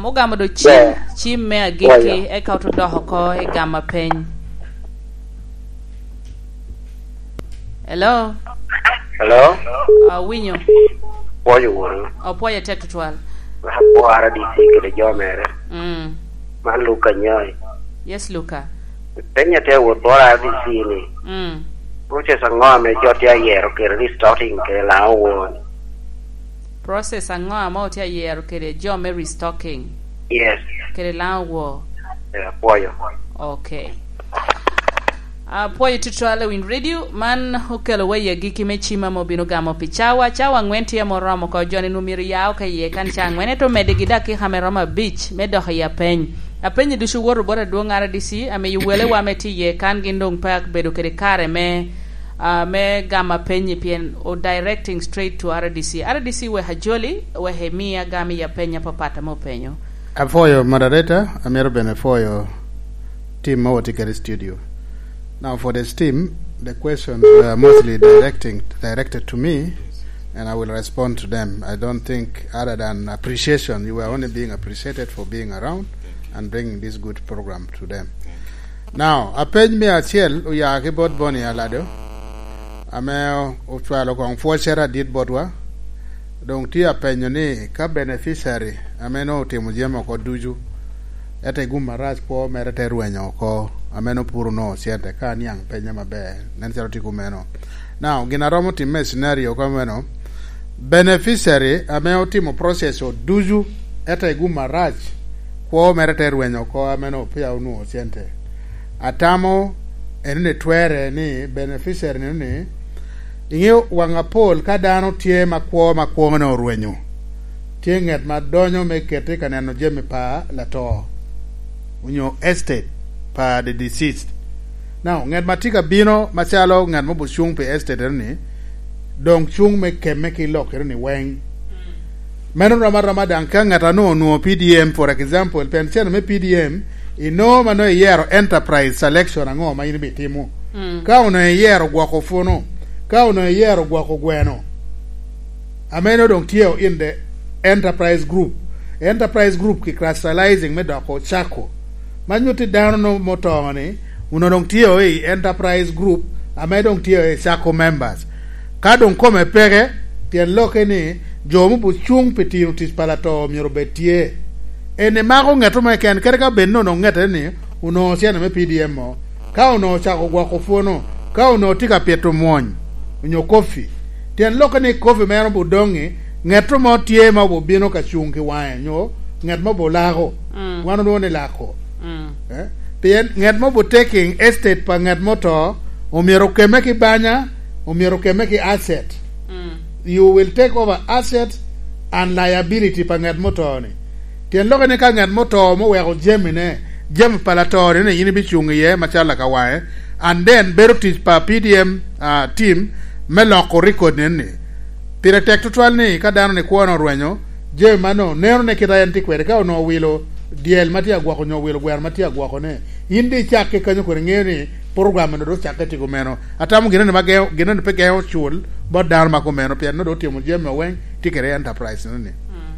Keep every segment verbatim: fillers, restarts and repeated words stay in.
Ogamo do cim, Yeah. cim me agikki, Oya. eka oto dok oko i gamo apeny. Hello? Hello? Awinyo. Pwoyo wunu. Opwoyo te tutwal. Apwora D C kede jo mere. Mm. Man Luka Nyoi. Yes, Luka. Penya tye awot bora D C ni. Mm. Process aŋo ame jo tye ayero kede restocking kede laŋo won? Process aŋo ame otye ayero kede jo me restocking? Yes. Kede laŋo wor? Eh, apwoyo. Okay. Apwoyo tutwal i Winy Radio. Man okelo wa i agikki me cim ame obino gamo pi cawa. Cawa aŋwen tye ame oromo oko, jo-ni nwoŋo myero ya oko iye kan ca aŋwen, ento omedde gi dakika me romo abic me dok i apeny. Apenyi ducu woto bot adwoŋ R D C, amiyo welewa ame tye iye kan gin doŋ pe abedo kede kare me, ah, me gamo apenyi, pien o directing straight to R D C. R D C wek ajoli, wek imi agam i apeny apapat ame openyo. Apwoyo moderator, amito bene pwoyo team ma watye kede i studio. Now for the team, the questions were mostly directing, directed to me, and I will respond to them. I don't think, other than appreciation, you were only being appreciated for being around and bringing this good program to them. Now, apeny me acel oya ki bot Boni Alado, ame ocwalo koŋ pwocere adit botwa. Doŋ tye apenyo ni ka beneficiary ame nwoŋo otimo jami oko ducu, ete gum arac kwo mere te rwenyo oko, ame nwoŋo puro nwoŋo cente, ka aniaŋ penye maber, nen calo tye kumeno. Now, gin a romo timme i scenario ka meno, beneficiary ame otimo process o ducu, ete gum arac, kwo mere te rwenyo oko, ame nwoŋo peya onwoŋo cente. Atamo eno ni twerre ni beneficiary nino ni, iŋeo waŋ apol ka dano tye ma kwo ma kwoŋone orwenyo, tye ŋet ma donyo me kete ka neno jami pa lato, onyo estate pa the deceased. Now, ŋet ma tye ka bino macalo ŋet mo obucuŋ pi estate ni, doŋ cuŋ me kemme ki lokere ni weŋ. Meno rom aroma daŋ ka ŋat a nwoŋo onwoŋo P D M, for example, pien cene me P D M, inwoŋo ma nwoŋo iyero enterprise selection aŋo ma in ibitimo. Mm. Ka onwoŋo iyero gwoko puno, ka onwoŋo iyero gwoko gweno, ame nwoŋo doŋ tye in the enterprise group. Enterprise group ki crystallizing me doko cako. Ma nyutti dano no-, moto ni, onwoŋo doŋ tye i enterprise group, ame doŋ tye i sacco members. Ka doŋ kome peke, tyen lokke ni, jo me obucuŋ pi tino tic pa lato myero obed tye. En emako ŋet mo keken, kadi ka bed ni onwoŋo ŋete ni, onwoŋo cene me P D M o. Ka onwoŋo ocako gwoko puno, ka onwoŋo tye ka pito mwony, onyo kofi, tyen lokke ni kofi mere obudoŋi, ŋet mo tye ma obubino ka cuŋ ki waŋe, nyo ŋet mo bulako. Mm. Wan olwoŋo ni lako. Mm. Eh? Pien ŋet mo bu taking estate pa ŋet mo to, omyero okemme ki banya, omyero okemme ki asset. Mm. You will take over asset and liability pa ŋet mo to ni. Tyen lokke ni ka ŋet mo to mo weko jamine, jami pa lato ni, ni in ibicuŋ iye macalo lakawaŋe, and then bedo tic pa P D M, ah, team me loko record ni. Pire tek tutwal ni ka dano ni kwone orwenyo, jami mano neno ne kit a en tye kwede, ka onwoŋo owilo dyel ma tye agwoko onyo owilo gweno ma tye agwokone, in di icakke kanyo kodi, iŋeo ni program eno dok ocakke tye kumeno. Atamo gin eno ma geŋo, gin eno pe geŋo cul bot dano ma kumeno, pien nongo dok otimo jami oweŋ, tye kede enterprise-nu ni. Mm.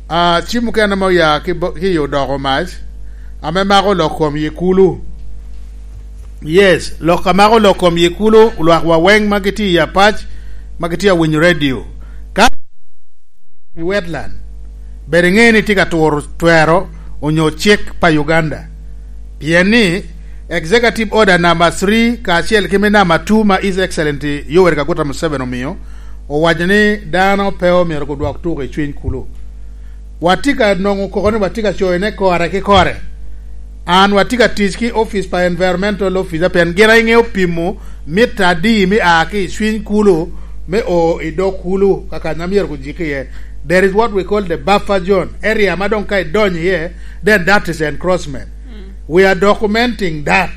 Ah, cim mukene ame oya ki bo-, ki i odoko mac, ame mako lok kom yi kulu. Yes, lok a mako lok kom yi kulu, lwakwa weŋ ma gitye i apac, ma gitye awinyo radio. Ka i wetland, bed iŋe ni tye ka turo twero onyo cik pa Uganda. Pien ni, Executive Order number three kacel ki me number two ma His Excellency Yoweri Kaguta Museveni omio, owaco ni dano pe omyero gudwok tuko i cwiny kulu. Watye ka nwoŋo koko ni watye ka coyone kore ki kore. An watye ka tic ki office pa Environmental Officer, pien gin a iŋeo pimo mita adi me a ki i cwiny kulu me o i dog kulu, ka kany a myero gujik iye. There is what we call the buffer zone, area ma doŋ ka idonyo iye, then that is encroachment. Mm. We are documenting that.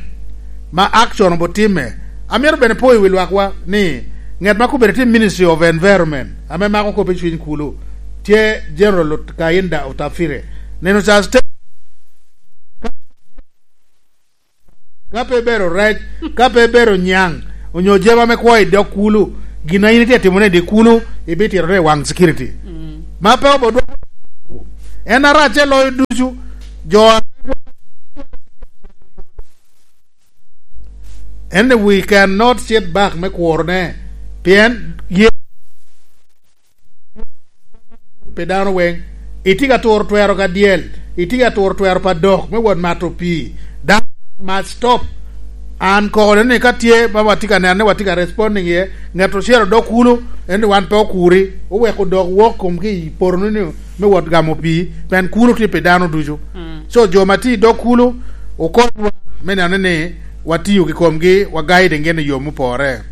Ma action obotimme. Amito bene po i wi lwakwa ni ŋet ma kobedi tye Ministry of Environment, ame mako kop i cwiny kulu, tye General Ot-, Kainda Otafire. Neno ca state, ka pe ibero rec, ka pe ibero nyaŋ, onyo jeba me kwo i dog kulu, gin a in itye timone i dye kulu, ibitito i waŋ security. Mm. Ma pe obodwoko En arac te loyo ducu. Jo a-, en ni we cannot sit back me kurone, pien ye pi dano weng. Itye ka turo twero ka dyel, itye ka turo twero pa dok me wot mato pii. Dano must stop. An koko ni ka tye ma watye ka neno ni watye ka responding iye, ngat ocel odok kulu, en ni wan pe okuri, oweko dok wok kom ki i poto ni me wot gamo pii, pien kulu tye pi dano ducu. Mm. So jo ma tye i dok kulu, okonywa me neno ni watiyo ki komgi, wa guiding gin i yo mupore.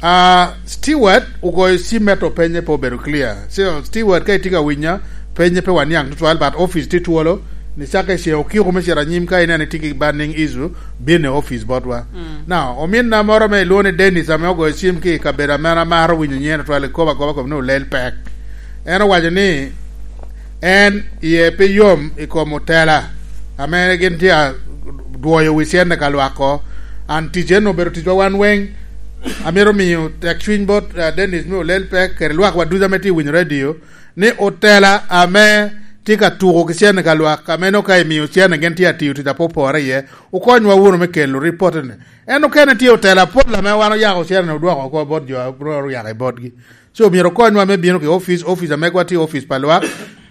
Ah, Stewart ogoyo cim me to penye pe obedo clear. So, Stewart, ka itye ka winya, penye pe waniaŋ tutwal, but office tye twolo, ni cake ce okiko me cito anyim ka ineno itye ki burning issue, bin i office botwa. Mm. Now, ominna moro ame ilwongo ni Dennis ame ogoyo cim ki i kabedo ame an amaro winyo nyen tutwal, ikobo akoba kom ni olel pek. En owaco ni en iye pe yom i kom otela ame gin tye a dwoyo wi cente ka lwak ko. An tic en obedo ticwa wan weng. Amito miyo tek cwiny bot, eh, Dennis me olel pek kede lwak wa ducu ame tye winyo radio ni otela ame tye ka tuko ki cente ka lwak ame no ka imiyo cente gin tye atiyo tic apopore iye, okonywa wunu me kelo ripot ni en okene tye otela apol ame wan oyako cente odwoko oko bot jo a oyako i botgi. So myero okonywa me bino ki office, office ame gwa tye office pa lwak,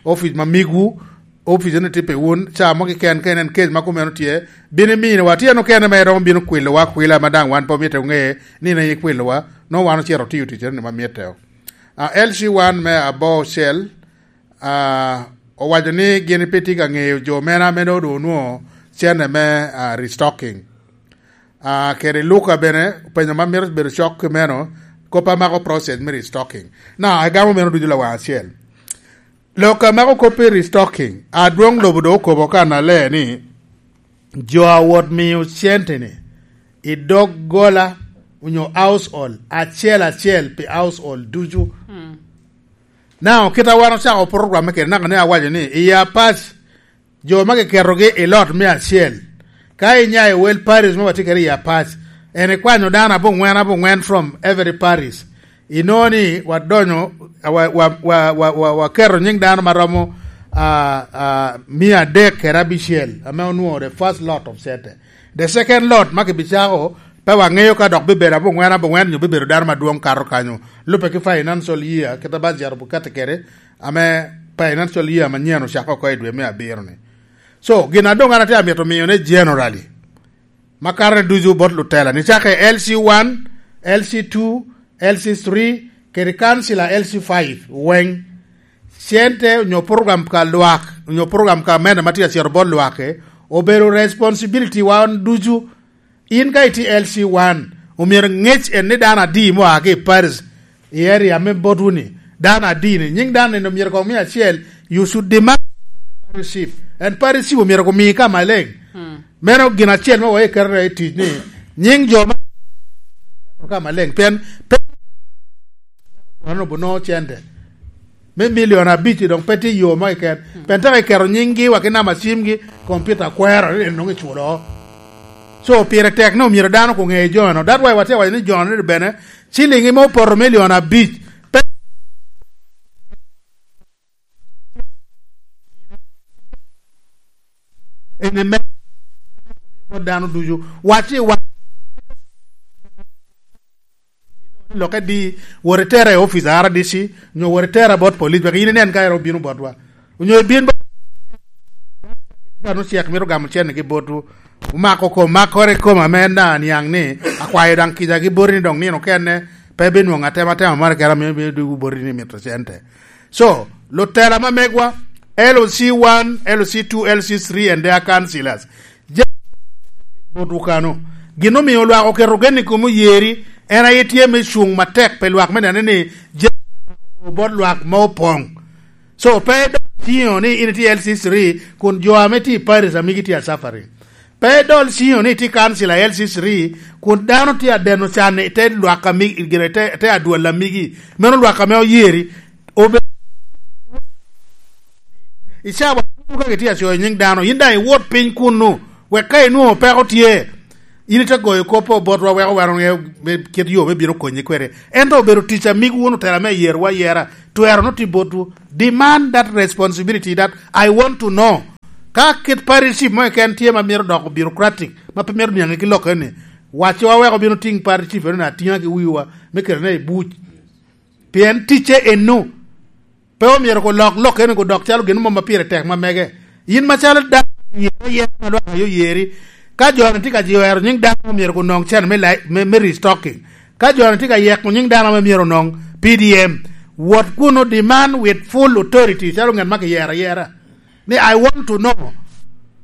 office ma migwu, office ni tye pi wun, ca mo kiken ka inen case ma kumeno tye, bino iminowa, tye en okene ma eromo bino kwilowa akwila ma daŋ wan pe omito ŋe ni ne ikwilowa, no wan ocito otiyo ticere ni ma mitte. Ah, L C one me Abocel, ah, owaco ni gin pe tye ka ŋeyo jo mene ame doŋ onwoŋo cene me, ah, restocking. Ah, kede Luka bene, openyo ma mito bedo cok ki meno, kop amako process me restocking. Na, agamo meno ducu lawaŋ acel. Lok amako kop i restocking, adwoŋ lobo doŋ okobo kan alee ni, jo a wot miyo cente-ni i dog gola onyo household acel acel pi household ducu. Mm. Now, kit a wan ocako program me kede naka ni awaco ni, i Apac, jo ma kiketogi i lot me acel, ka inya i wel parish ma watye kede i Apac, en ikwanyo dano abongwen abongwen from every parish, inongo ni wadonyo, wa, wa, wa, wa, wa, waketo nying dano ma romo, ah, ah, mia adek kede abicel, ame onwoŋo the first lot of center. The second lot ma kibicako, pe waŋeyo ka dok bibedo abongwen abongwen nyo bibedo dano madwoŋ kato kanyo. Lubbe ki financial year, kit a budget oketo kede, ame financial year manyen ocako oko i dwe me abiro ni. So, gin a doŋ an atye amito miyo ne generally, ma karone ducu bot lutela, ni cake L C one, L C two, L C three, kede council a L C five, weng. Cente onyo program ka lwak, onyo program ka mene ma tye acito bot lwak, eh, obedo responsibility wa wan ducu. In ka itye L C one, omyero ŋec en ni dano adi mo a ki i parish, i area me botwu ni, dano adi ni, nying dano ni omyero kong miya acel, you should demand parish chief. And parish chief omyero komi ka maleng. Hmm. Meno gin acel ma wa iketo i tic ni, nying jo ma ka maleng. Pien, pe, ano bono cente. Me milion abic doŋ pe tye yo mo keken. Hmm. Pien tek iketo nyinggi wa ki namba cimgi, kompiuta kwero ni nongo iculo. So, pire tek ni omyero dano okoŋe jo-nu. That's why watye waco ni jo-nu ni bene, ciling ime opoto milion abic. Pe ene me dano ducu. Wacci wa- Lokke di, wot itere i office a R D C, nyo wot itere bot police, wek in inen ka en obino botwa. Onyo ibin bot, dano cek mito gamo cene gi botwu. Omako kom, makore kom ame en daŋ aniaŋ ni, akwayo daŋ kica gi boti ni dok nino okene, pe binwoŋo atema atema moro kera ame bino dwogo boti ni mito cente. So, lutela ma megwa, L C one, L C two, L C three and their councillors. Ja-, botwu kano. Gin omio lwak oketo gen i kom oyeri, en aye tye me cuŋ matek pe lwak me nene ni je-, bot lwak ma opoŋ. So, pe idol ciŋo ni in itye L C three, kun jo ame tye i Paris a migi tye a suffering. Pe idol ciŋo ni itye council a L C three, kun dano tye a deno can i te lwak a mi-, gire te, te adwol a migi. Meno lwak ame oyeri. Obe-, i cawa ducu ka kitye a coyo nying dano, yin daŋ iwot piny kunnu, wek ka inwoŋo peko tye, in ite goyo kop botwa wek wan oŋe kit yo me bino konyi kwede. Ento obedo tic a migi wun otela me yerowa ayera, twero no tye botwu. Demand that responsibility that I want to know. Ka kit parish chief mo keken tye ma myero doko bureaucratic, ma pe myero niaŋe ki lok eni, wacciwa wek obino tiŋ parish chief eno atiŋa ki wiwa, me kete ne i buc. Pien ticce eno. Pe omyero ko lok lok eno ko dok calo gin mo ma pire tek ma mege. Yin macalo dano yere yere ma lwak ayo yeri. Ka jo-ni tye ka jwero nying dano ma myero ko nong cen me, lai-, me, me restocking. Ka jo-ni tye ka yeko nying dano ma myero nong P D M. Wot kuno demand with full authority calo ngat ma kiyero ayera. Ni, "I want to know."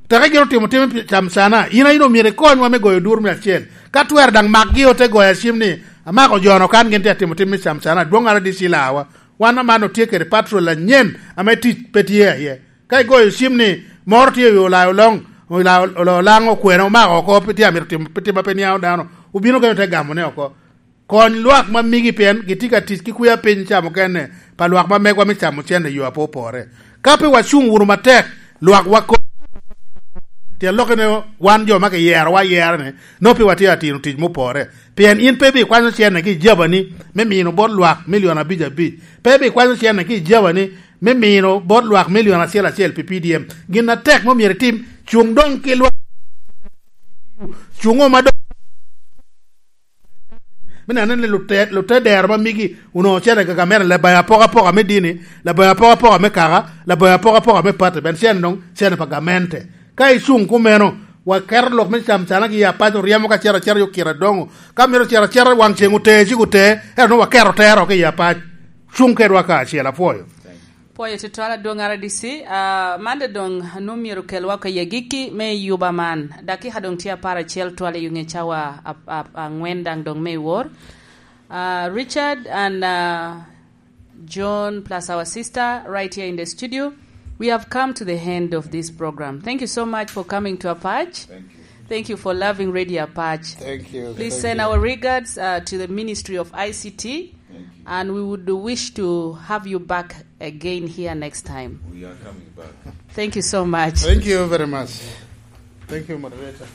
Teke gin otimo tim pi camcana. In a in omyero ikonywa me goyo dur me acel. Ka twero daŋ makgi ote goyo acim ni, "Amako jo-no kan gin tye atimo tim me camcana. Adwoŋ ara D C lawa." Wan aman otye kede patrol anyen ame tic pe tye aye. Ka igoyo cim ni moro tye i Olaya Oloŋ, Olaya Ol-, Olaŋ okwena omako oko, pe tye amito timo, pe timo pe niaŋo dano, obino kene te gamone oko. Kony lwak ma migi pien gitye ka tic ki kwia piny ca mukene pa lwak ma megwa me camo cente i yo ape opore. Ka pe wacuŋ wunu matek, lwak wako. Tyen lokke ni wan jo ma kiyero, wayero ni, nongo pe watye atino tic mupore. Pien in pe ibikwanyo cente ki i jabani me mino bot lwak milion abic abic. Pe ibikwanyo cente ki i jabani me mino bot lwak milion acel acel pi P D M. Gin atek ma myero itim, cuŋ doŋ ki lwak. Cuŋo ma doŋ me neno ni lute-, lute dero ma migi onongo cene ka gamente, labayo apokapoka me dini, labayo apokapoka me kaka, labayo apokapoka me pati, ben cene doŋ cene pa gamente. Ka icuŋ kumeno, waketo lok me cam cana ki i apac oryemo ka cito acita yo kite adoŋo. Ka mito cito acita waŋ ceŋ ote, cik ote, ento nwoŋo waketo tero ki i apac. Cuŋ kedwa kacel, apwoyo. Pwoyo tutwal adwoŋ R D C. Ah, man doŋ nwoŋo myero kelwa oko i agikki me yuba man. Dakika doŋ tye apar acel twal i ŋe cawa ap-, ap-, aŋwen daŋ doŋ me i wor. Uh, Richard and, uh, John, plus our sister right here in the studio, we have come to the end of this program. Thank you so much for coming to Apac. Thank you. Thank you for loving Radio Apac. Thank you. Please send our regards, uh, to the Ministry of I C T, and we would wish to have you back again here next time. We are coming back. Thank you so much. Thank you very much. Thank you, moderator.